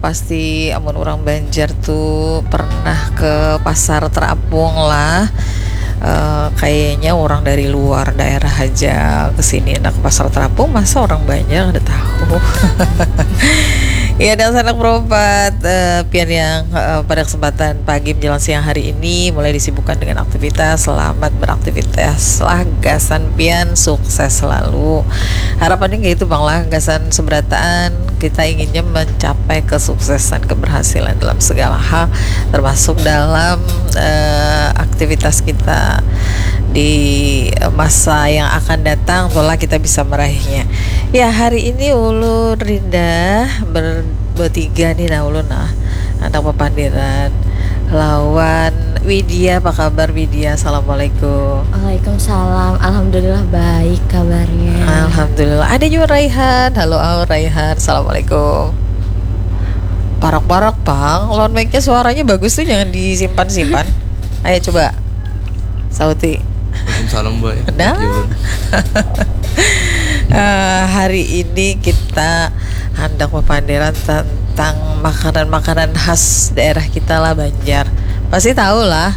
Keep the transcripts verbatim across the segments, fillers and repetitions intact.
Pasti amun orang Banjar tuh pernah ke pasar terapung lah. Eh, kayaknya orang dari luar daerah aja ke sini. Nah, ke pasar terapung, masa orang Banjar ada tahu? Ya, dan sanak perempat, eh, pian yang, eh, pada kesempatan pagi menjelang siang hari ini mulai disibukkan dengan aktivitas. Selamat beraktivitas lah, gasan pian sukses selalu. Harapannya kayak itu, Bang, lah, gasan seberataan kita inginnya mencapai kesuksesan, keberhasilan dalam segala hal, termasuk dalam, eh, aktivitas kita di masa yang akan datang, pola kita bisa meraihnya. Ya, hari ini ulun Rinda ber-, bertiga nih, nah, ulun, nah, anak papandiran lawan Widya. Apa kabar, Widya? Assalamualaikum. Waalaikumsalam. Alhamdulillah, baik kabarnya. Alhamdulillah. Ada juga Raihan. Halo, oh, Raihan. Assalamualaikum. Parak-parak, Bang. Lawan mic-nya suaranya bagus tuh, jangan disimpan-simpan. Ayo, coba. Sauti. Waalaikumsalam, Boy. Nah. Yulun. Eh, hari ini kita hendak papandiran tentang makanan-makanan khas daerah kita lah, Banjar. Pasti tahu lah.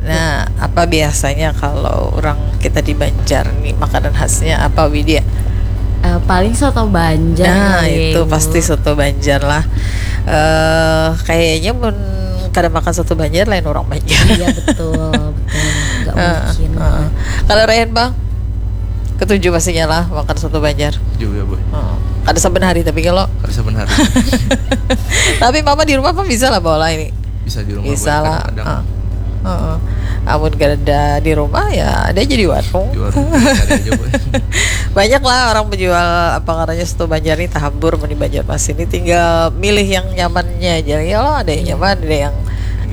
Nah, apa biasanya kalau orang kita di Banjar nih, makanan khasnya apa, Widya? Eh, paling soto Banjar. Nah, kali ya, itu Ibu. Pasti soto Banjar lah. Eh, kayaknya mun kada makan soto Banjar, lain orang Banjar. Iya, betul, betul. Nggak Heeh, mungkin. Heeh. Kalau Raihan, Bang, ketujuh pastinya lah makan soto Banjar. Juga, Boy. Heeh. Kada saben hari, tapi kalau Kada saben hari. Tapi mama di rumah apa bisa lah bawa lah ini. Bisa di rumah, Bisa Boy. Lah. Kadang-kadang. Heeh. Heeh. Amun kada ada di rumah, ya ada aja di warung. Di warung cari aja, Boy. Banyak lah orang menjual, apa ngarannya, soto Banjar nih, tahambur mun di Banjarmasin ini, tinggal milih yang nyamannya aja. Ya lo, ada yang nyaman, ada yang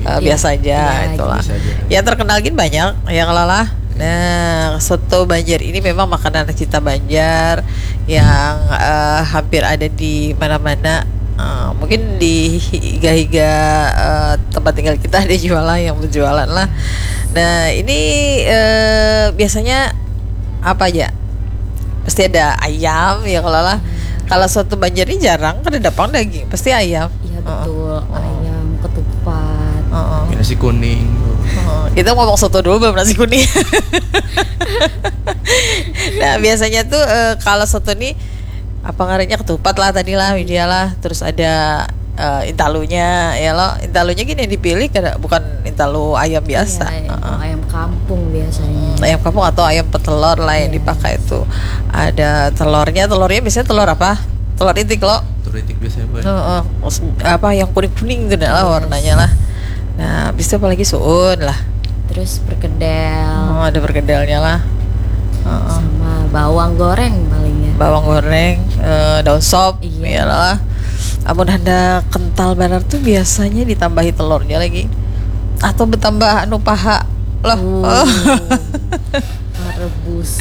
eh, Iya. Biasa aja, Iya, itulah. Biasa aja. Yang terkenal gin banyak, yang lala. Nah, soto Banjar ini memang makanan kita Banjar yang eh, hampir ada di mana-mana. Eh, mungkin di higa-higa eh, tempat tinggal kita ada jual lah, yang berjualan lah. Nah, ini eh, biasanya apa aja? Pasti ada ayam, ya kalau lah. Kalau soto Banjar ini jarang, kada ada pang daging, pasti ayam. Iya, Heeh. Betul. Heeh. Ayam, ketupat. Heeh. Nasi kuning. Heeh. Kita ngomong soto dulu, belum nasi kuning. Nah, biasanya tuh eh, kalau soto nih, apa ngarannya, ketupat lah tadi lah, Widya lah, terus ada eh, intalunya, ya lo. Intalunya gini yang dipilih, kada, bukan intalu ayam biasa. Iya, Heeh. Ayam kampung biasanya. Ayam kampung atau ayam petelur lah yang Iya. Dipakai itu. Ada telurnya, telurnya biasanya telur apa? Telur itik lo. Telur itik biasanya, Boy. Heeh. Maksud- apa yang kuning-kuning tuh dah lah Yes. Warnanya lah. Nah, bisa apa lagi, suun lah. Terus perkedel. Oh, ada perkedelnya lah. Heeh. Sama bawang goreng palingnya. Bawang goreng, eh, daun sop, Iya. Iyalah. Amun hendak kental banar tuh biasanya ditambahi telurnya lagi. Atau bertambah anu paha. Loh. Uh, rebus.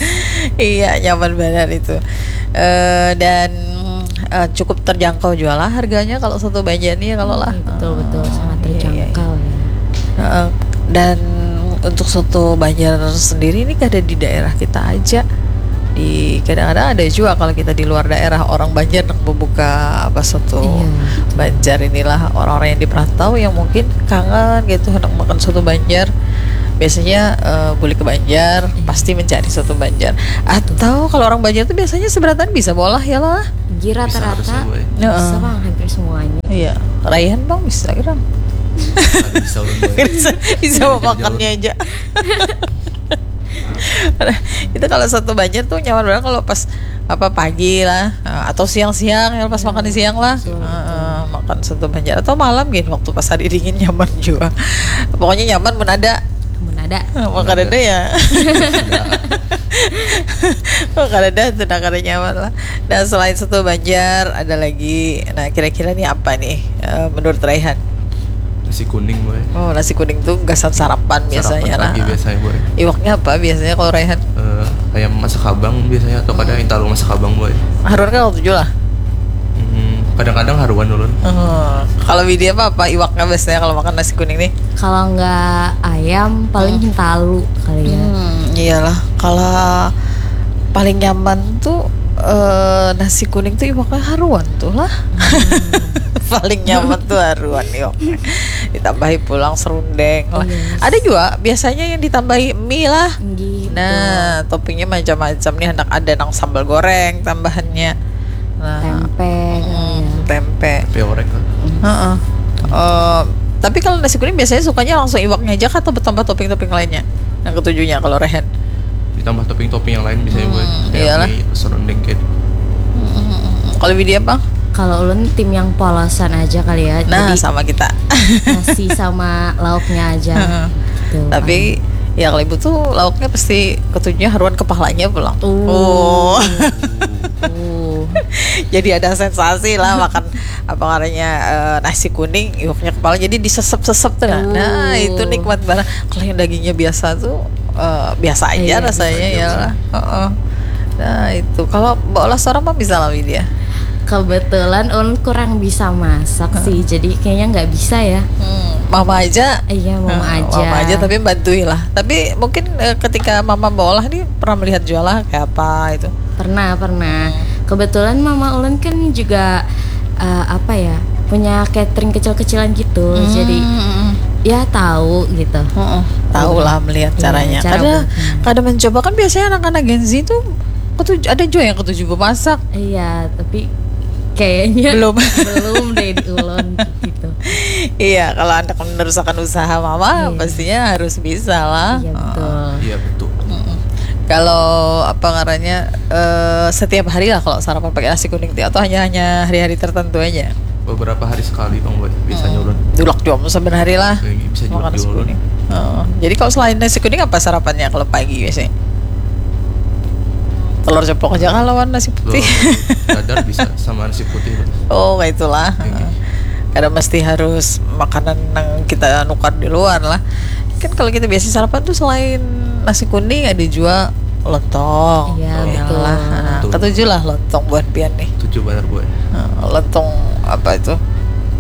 Iya, nyaman banget itu. Eh, dan eh, cukup terjangkau juga lah harganya kalau soto Banjar nih, kalau lah. Iya, betul, betul. Sangat Iya, iya, iya. Terjangkau ya. Heeh. Dan untuk soto Banjar sendiri ini kada di daerah kita aja. Di kadang-kadang ada juga kalau kita di luar daerah, orang Banjar yang membuka apa, soto Iya, betul. Banjar inilah, orang-orang yang di perantau yang mungkin kangen gitu hendak makan soto Banjar. Biasanya eh, boleh ke Banjar, Iya. Pasti mencari soto Banjar. Atau kalau orang Banjar tuh biasanya seberatan bisa bolah ya lah. Jadi Bisa harusnya, rata-rata Boy. Heeh. Bisa bang, hampir semuanya. Iya, Raihan bang bisa kan? Aduh, bisa ulun, Boy. Bisa, bisa makannya aja. Itu kalau soto Banjar tuh nyaman banget kalau pas apa, pagi lah, eh, atau siang-siang ya, pas makan di siang lah. Betul, betul. Heeh, makan soto Banjar atau malam gini, waktu pas hari dingin nyaman juga. Pokoknya nyaman mun ada. Mun ada. Makan ada ya. Makan ada tuh, nah, kada nyaman lah. Nah, selain soto Banjar ada lagi. Nah, kira-kira nih apa nih eh, menurut Raihan? Nasi kuning, Boy. Oh, nasi kuning tuh gasan sarapan biasanya Sarapan lah. Pagi biasanya, Boy. Iwaknya apa biasanya kalau Raihan? Eh, ayam masak kabang biasanya, atau kadang intalu masak kabang, Boy. Haruan kan waktu lah. Hmm, kadang-kadang haruan ulun. Eh, kalau Widya apa, apa iwaknya biasanya kalau makan nasi kuning nih? Kalau nggak ayam, paling Hmm. Hintalu kali ya. Hmm, iyalah. Kalau paling nyaman tuh Eh, nasi kuning tuh iwaknya haruan tuh lah. Paling nyaman tuh haruan iwaknya. Ditambahi pulang serundeng lah. Yes. Ada juga biasanya yang ditambahi mie lah. Nggih, Nah, toppingnya macam-macam nih, hendak ada nang sambal goreng tambahannya. Nah, tempe, hmm, ya. Tempe. Tempe orek lah. Heeh. Eh, tapi kalau nasi kuning biasanya sukanya langsung iwaknya aja atau bertambah topping-topping lainnya? Yang ketujuhnya kalau Rehen. Ditambah topping-topping yang lain, misalnya buat Hmm, kayak iyalah. Mie, serundeng kayak. Kalau Widya apa? Kalau ulun tim yang polosan aja kali ya. Nah, Jadi sama kita. Nasi sama lauknya aja. Heeh. Tuh, Tapi ya kalau ibu tuh lauknya pasti ketujuhnya haruan kepalanya pulang. Uh. Oh. Uh. Jadi ada sensasi lah makan apa namanya, eh, nasi kuning, iwaknya kepala jadi disesep-sesep tuh. Nah, Uh. Nah, itu nikmat banget. Kalau yang dagingnya biasa tuh eh, biasa aja Iya, rasanya biasa ya aja. Lah. Heeh. Nah, itu kalau Mbak Olah seorang mah bisa lah Widya. Kebetulan ulun kurang bisa masak sih, jadi kayaknya nggak bisa ya. Hmm, mama aja. Iya, mama Nah, aja. Mama aja tapi bantui lah. Tapi mungkin eh, ketika mama Mbak Olah nih pernah melihat jualan kayak apa itu. Pernah, pernah. Kebetulan mama ulun kan juga eh, apa ya, punya catering kecil-kecilan gitu. Jadi Hmm. Ya, tahu gitu. Heeh, tahu lah melihat Iya, caranya. cara Kada buatnya. kada mencoba kan biasanya anak-anak Gen Z itu ketuju, ada juga yang ketuju memasak. Iya, tapi kayaknya Belum. Belum deh di ulun gitu. Iya, kalau anak meneruskan usaha mama, Iya. Pastinya harus bisa lah. Iya, Heeh. betul. Iya, betul. Mm-mm. Kalau apa ngarannya eh, setiap hari lah kalau sarapan pakai nasi kuning ti atau hanya hanya hari-hari tertentu aja. Beberapa hari sekali, Bang, buat biasanya ulun. Dulak jua mun saban hari lah. Kayak gitu, bisa juga Makan nasi diulun. Kuning. Heeh. Jadi kalau selain nasi kuning apa sarapannya kalau pagi biasanya? Telur ceplok aja kah lawan nasi Telur putih. Dadar bisa sama nasi putih, Bang. Oh, kayak itulah. Iya. Kada mesti harus makanan yang kita nukar di luar lah. Kan kalau kita biasa sarapan tuh selain nasi kuning ada juga lontong. Iya, Tuh, betul. lah. Nah, Betul. Ketujuh lah lontong buat pian nih. Tujuh benar, Bu. Nah, lontong apa itu?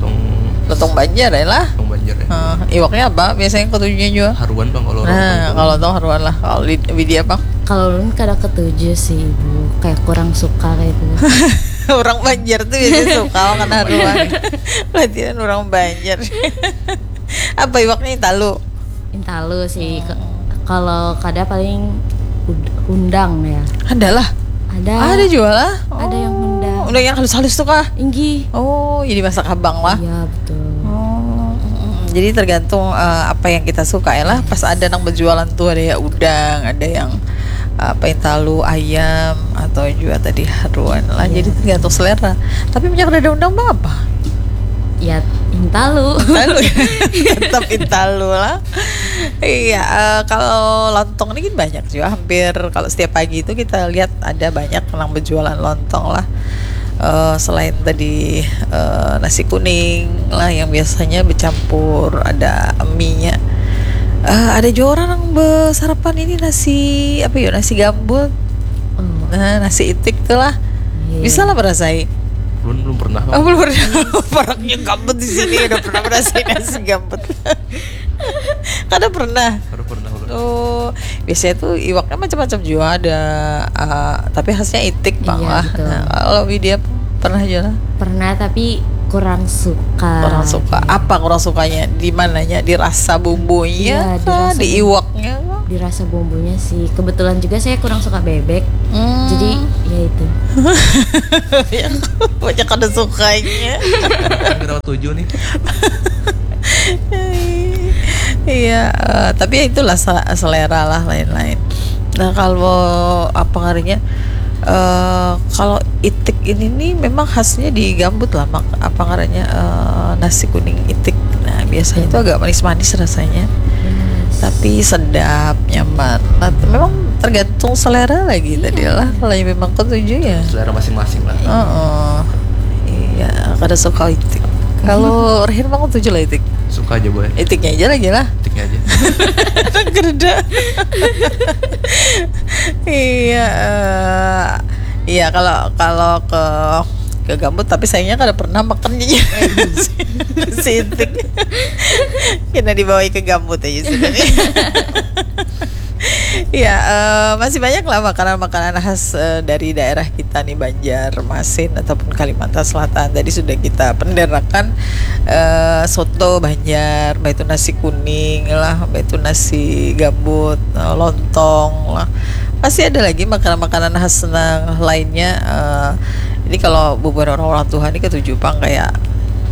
Tong Lontong Banjar ya lah. Tong Banjar ya. Nah, iwaknya apa? Biasanya ketujuhnya juga. Haruan, Bang, kalau Nah, lontong. Kalau lontong haruan lah. Kalau Lid- Widya apa? Kalau ulun kada ketuju sih, Ibu. Kayak kurang suka kayak itu. Orang Banjar tuh biasanya suka makan haruan. Berarti kan orang Banjar. Apa iwaknya talu? Intalu sih. Ke- Kalau kada paling ud- hundang ya. Ada lah. Ada. Ada juga lah. Ada yang Oh, hundang. Udah yang halus-halus tuh kah? Inggih. Oh, jadi masak habang lah. Iya, betul. Oh, mm, jadi tergantung eh, apa yang kita suka ya lah. Pas ada nang berjualan tuh ada ya udang, ada yang apa yang talu ayam atau juga tadi haruan lah. Iya. Jadi tergantung selera. Tapi minyak dada undang mah apa? Ya, intalu. Talu. Tetap intalu lah. Iya, eh, kalau lontong ini kan banyak juga hampir kalau setiap pagi itu kita lihat ada banyak nang berjualan lontong lah. Eh, selain tadi eh, nasi kuning lah yang biasanya bercampur ada mie-nya. Eh, ada juga orang yang bersarapan ini nasi apa ya nasi gambut. Oh, Nah, nasi itik tuh lah. iya. Bisa lah merasai. Belum belum pernah. Oh, belum pernah. Orangnya gambut di sini udah pernah merasai nasi gambut. Kada pernah. Baru pernah ulun. Oh, biasanya tuh iwaknya macam-macam juga ada, ah, tapi khasnya itik bang Iya, lah. Betul. Nah, kalau Widya pernah juga lah. Pernah tapi kurang suka. Kurang suka. Apa kurang sukanya? Di mananya? Di rasa bumbunya Iya, di kah? rasa Di bumbu. Iwaknya kah? Di rasa bumbunya sih. Kebetulan juga saya kurang suka bebek. Hmm. Jadi ya itu. Banyak ada sukanya. Kan kita tujuh nih. Iya, eh, tapi ya itulah se- selera lah lain-lain. Nah kalau apa ngarannya? Eh, kalau itik ini nih memang khasnya di gambut lah, mak apa ngarannya eh, nasi kuning itik. Nah biasanya itu agak manis-manis rasanya, tapi sedap, nyaman. Nah, memang tergantung selera lagi tadi lah. Kalau yang memang ketujuh ya. Selera masing-masing lah. Heeh. Iya, kada suka itik. Kalau Rehin mah ketujuh lah itik. Suka aja, Boy. Itiknya aja lagi lah. Itiknya aja. Kereda. Iya, eh, iya kalau kalau ke ke gambut tapi sayangnya kada pernah makan si itik. Kena dibawa ke gambut aja sudah nih. Ya, eh, masih banyak lah makanan-makanan khas, eh, dari daerah kita nih, Banjarmasin ataupun Kalimantan Selatan. Tadi sudah kita penderakan, eh, soto Banjar, baik itu nasi kuning lah, baik itu nasi gambut, eh, lontong lah. Pasti ada lagi makanan-makanan khas nang lainnya. Eh, ini kalau bubuhan orang-orang tua nih ketujuh pang kayak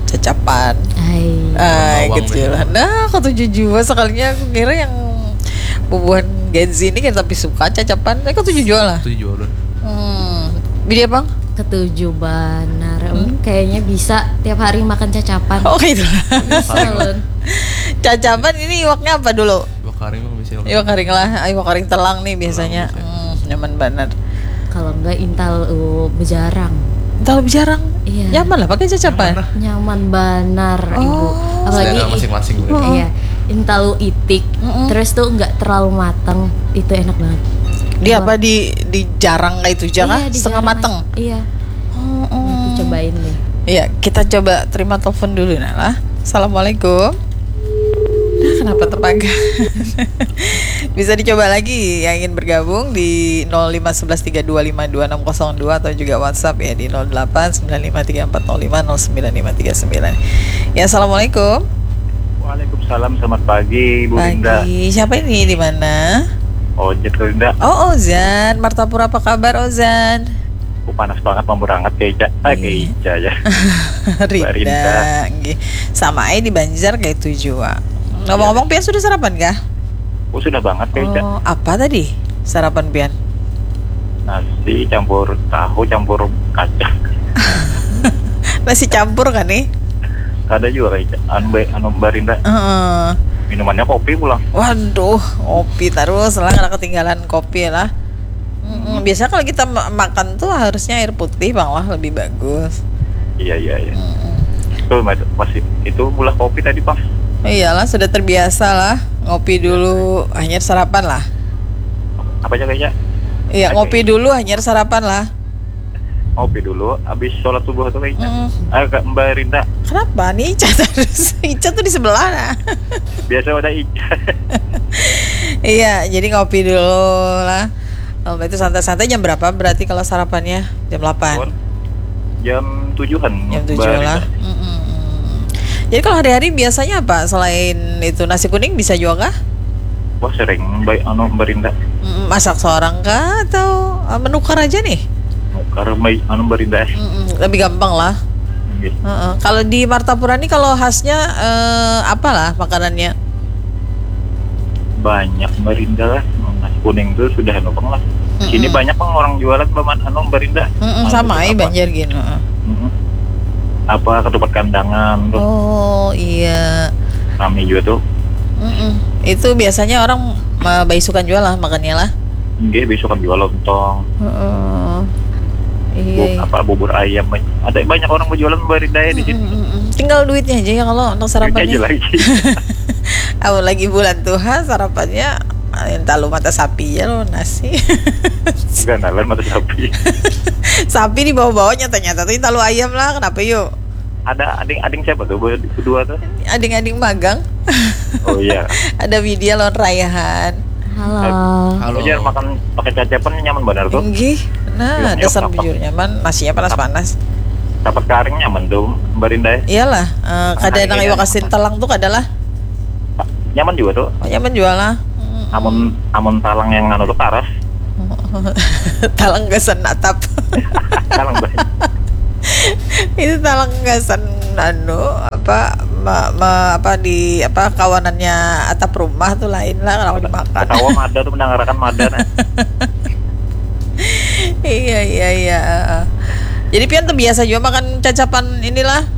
cacapan. Hai. Ay, bawang gitu lah. Nah, ketujuh jua, sekalinya aku kira yang bubuhan Gen Z ini kayak tapi suka cacapan. Eh, ketujuh jua lah. Ketujuh jua lah. Hmm. Bidi apa? Ketujuh banar. Hmm? Kayaknya bisa tiap hari makan cacapan. Oh, kayak itu lah. Bisa, Lun. Cacapan ini iwaknya apa dulu? Iwak karing mah bisa. Iwak karing lah. Ayo, iwak karing telang nih biasanya. Telang bisa. Hmm, nyaman banget. Kalau enggak intal, uh, bejarang. Intal bejarang? Iya. Nyaman lah pakai cacapan. Nyaman lah. Nyaman banar, Ibu. Oh. Apalagi selera masing-masing, Bu. Iya. Intalu itik, mm-mm, terus tuh nggak terlalu mateng, itu enak banget. Di apa, di, di jarang kayak itu, jangan. Iya, di setengah jarang mateng. Iya. Oh, oh. Nanti cobain deh. Iya, kita coba terima telepon dulu, nah lah. Assalamualaikum. Nah, kenapa terpaga? Bisa dicoba lagi yang ingin bergabung di nol lima sebelas tiga dua lima dua enam kosong dua atau juga WhatsApp ya di nol delapan sembilan lima tiga empat nol lima nol sembilan lima tiga sembilan. Ya, assalamualaikum. Waalaikumsalam, selamat pagi, Bu Linda. Pagi. Siapa ini, di mana? Ojek, Bu Linda. Oh, Ozan. Martapura, apa kabar, Ozan? Oh, panas banget, mamburangat kayak Ica. Ah, kayak Ica ya. Rinda, nggih. Sama aja di Banjar kayak itu jua. Ngomong-ngomong, pian sudah sarapan kah? Oh, sudah banget, kayak Ica. Oh, apa tadi sarapan pian? Nasi campur tahu, campur kacang. Nasi campur kan nih? Kada jua, kayak Ica. Anu, Mbak, anu, Mbak Rinda. Heeh. Minumannya kopi pulang. Waduh, kopi terus lah, kada ketinggalan kopi lah. Mm-mm. Biasanya kalau kita ma-, makan tuh harusnya air putih, Bang, lah, lebih bagus. Iya, iya, iya. Mm-mm. Tuh, Mas, masih itu, bulah kopi tadi, Bang. Iyalah, sudah terbiasa lah. Ngopi dulu, hanyar sarapan lah. Apa aja kayaknya? Iya, ngopi dulu, hanyar sarapan lah. Ngopi dulu, habis sholat subuh tuh kayaknya. Mm-mm. Ah, Kak, Mbak Rinda. Kenapa nih Ica terus? Ica tuh di sebelah, nah. Biasa ada Ica. Iya, jadi ngopi dulu lah. Oh, itu santai-santai. Jam berapa berarti kalau sarapannya? Jam delapan? Jam tujuhan. Jam tujuh lah. Mm-mm. Jadi kalau hari-hari biasanya apa? Selain itu nasi kuning bisa juga kah? Wah, sering, baik, anu, Mbak Rinda. Mm, masak seorang kah atau, eh, menukar aja nih? Menukar, baik, anu, Mbak Rinda. Mm-mm, lebih gampang lah. Iya. Heeh. Kalau di Martapura nih, kalau khasnya, eh, apalah makanannya? Banyak, Mbak Rinda lah. Nasi kuning tuh sudah anu pang lah. Sini banyak pang orang jualan, Mbak, anu, Mbak Rinda. Mm-mm, sama aja Banjar gini, heeh. Mm-mm. Apa, ketupat kandangan tuh. Oh, iya. Rame juga tuh. Mm-mm. Itu biasanya orang, eh, baisukan jual lah makannya lah. Nggih, baisukan jual lontong. Heeh. Iya, iya. Apa, bubur ayam, banyak. Ada banyak orang berjualan, Mbak Rinda, ya, di sini. Mm-mm, mm-mm. Tinggal duitnya aja ya kalau untuk sarapannya. Duitnya aja lagi. Amun lagi bulan tuha, sarapannya, eh, intalu mata sapi ya lo, nasi. Gandalan mata sapi. Sapi di bawah-bawah, nyata-nyata tuh intalu ayam lah, kenapa yuk? Ada ading-ading siapa tuh, berdua tuh? Ading-ading magang. Oh, iya. Ada Widya lawan Raihan. Halo. Halo. Bujur, makan pakai cacapan nyaman benar tuh. Enggih. Nah, dasar bujur nyaman, nasinya panas-panas. Dapat karing nyaman tuh, Mbak Rinda, ya? Iyalah, eh, kada nang iwak asin telang tuh kada lah. Nyaman juga tuh. Oh, nyaman juga lah. Mm-mm. Amun, amun talang yang anu tuh karas. Talang gasan atap. Talang banyu. Itu talang gasan anu, apa, ma-, ma-, apa, di, apa, kawanannya atap rumah tuh lain lah kalau dimakan. Ketawa mada tuh, mendangarakan mada, nah. Iya, iya, iya, heeh. Jadi pian tuh biasa juga makan cacapan inilah?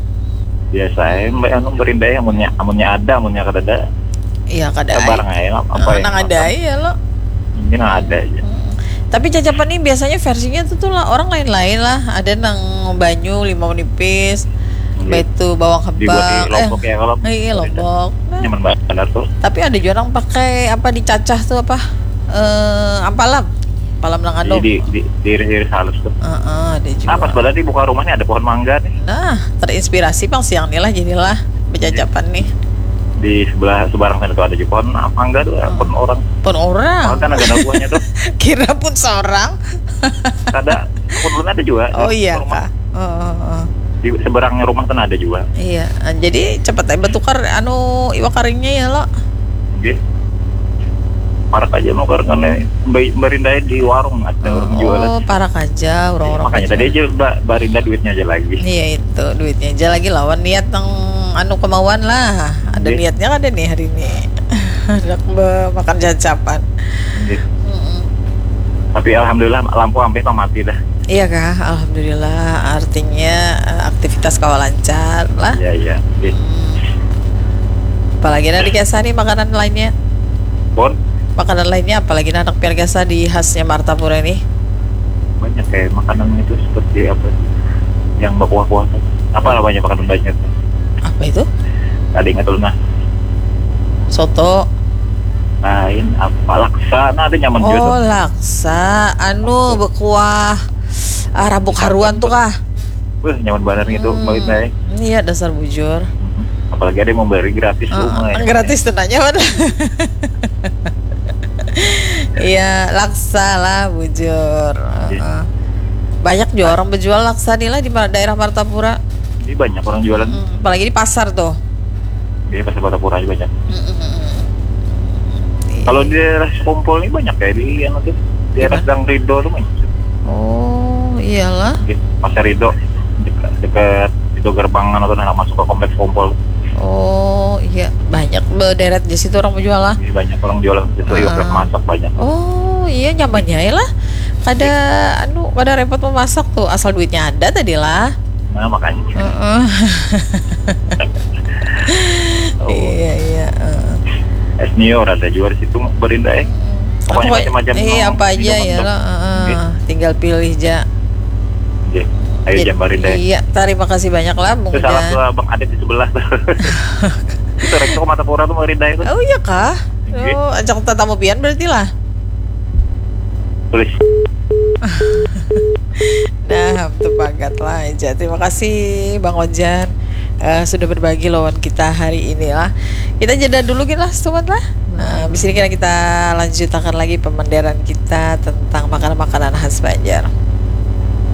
Biasa aja, Mbak, anu, Mbak Rinda, amunnya, amunnya ada, amunnya kadada. Iya, kada ai. Barang aja, apa yang nang ada ai ya lo. Mungkin nang ada aja. Mm. Tapi cacapan nih biasanya versinya tuh, tuh lah, orang lain-lain lah. Ada nang banyu, limau nipis, baitu bawang habang. Dibuat di lombok ya, kalau iya, lombok. Nah. Nyaman banget tuh. Tapi ada juga nang pakai apa, dicacah tuh apa? Eh, ampalam. Ampalam nang anu. Di, di, diiris-iris halus tuh. Heeh, ada juga. Apa sebelah di muka rumahnya ada pohon mangga nih. Nah, terinspirasi pang siang nih lah, jadilah becacapan nih. di sebelah seberang sana tuh ada juga pohon mangga tuh, pohon orang. Pohon orang. Kan ada buahnya tuh. Kira pun seorang. Ada, pohon ada juga. Oh iya kah? Oh, oh, oh. Di seberangnya rumah kan ada juga. Iya, jadi cepat aja bertukar anu iwak karingnya ya lo. Oke. Parak aja nukar kan, barindai di warung ada orang jualan. Oh, parak aja orang-orang. Makanya tadi aja barinda duitnya aja lagi. Iya itu, duitnya aja lagi lawan niat nang anu kemauan lah. Ada niatnya ada nih hari ini. Hendak makan cacapan. Tapi alhamdulillah lampu hampir mati dah. Iya kah? Alhamdulillah. Artinya aktivitas kawa lancar lah. Iya, iya. Hmm. Apalagi nanti biasa nih makanan lainnya. Pun? Makanan lainnya apalagi anak piar biasa di khasnya Martapura ini. Banyak kayak makanan itu seperti apa? Yang berkuah-kuah. Apa namanya makanan banyak? Apa itu? Tadi ingat dulu nah. Soto. Lain apa? Laksa. Nah, ada nyaman juga. Oh, laksa. Anu berkuah ah, rabuk haruan tuh kah? Wah, nyaman banget gitu, hmm, iya dasar bujur. Apalagi ada yang memberi gratis uh, rumah ya. Gratis tenanya mana? Iya, laksa lah bujur. Uh, banyak juga orang berjual laksa nih lah di daerah Martapura. Ini banyak orang jualan. Hmm, apalagi di pasar tuh. Iya, pasar Martapura aja banyak. Hmm, hmm, hmm. Kalau di daerah Sekumpul ini banyak kayak di yang itu, di daerah Gang Rido tuh banyak. Oh, iyalah. Di Pasar Rido, dekat, dekat itu gerbang atau nak masuk ke kompleks Kompol. Oh iya, banyak berderet di situ orang menjual lah. Iya, banyak orang jualan itu, uh, masak banyak. Oh iya, nyamannya ya lah. Kada anu, kada repot memasak tuh, asal duitnya ada tadi lah. Nah, makanya. Uh -uh. Oh. Iya, iya. Uh. Senior ada juga di situ berindah. Eh. Pokoknya macam-macam. Iya, apa aja ya lo. Uh, tinggal pilih aja. Oke. Ayo jam berindah. Iya, terima kasih banyak lah. Itu salah tuh Bang Adit di sebelah. Itu rektor Martapura tuh berindah itu. Oh iya kah? Oh, ajak tetamu pian berarti lah. Tulis. Nah, betul banget lah aja. Terima kasih Bang Ojan uh, sudah berbagi lawan kita hari ini lah. Kita jeda dulu gini lah, sobat lah. Nah, di sini kita, kita lanjutakan lagi pemanderan kita tentang makanan-makanan khas Banjar.